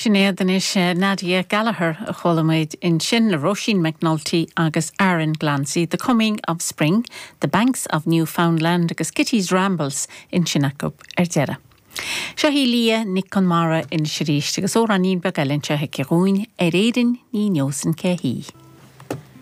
Sinéad anois, Nadia Gallagher a chuala muid ansin le Róisín McNulty agus Aaron Glancy, The Coming of Spring, The Banks of Newfoundland agus Kitty's Rambles ansin acu ar deireadh. Seo í Liadh Nic Conmara anois arís agus amhráinín beag eile anseo aici dhúinn, Ar Éirinn ní neosainn cé hí.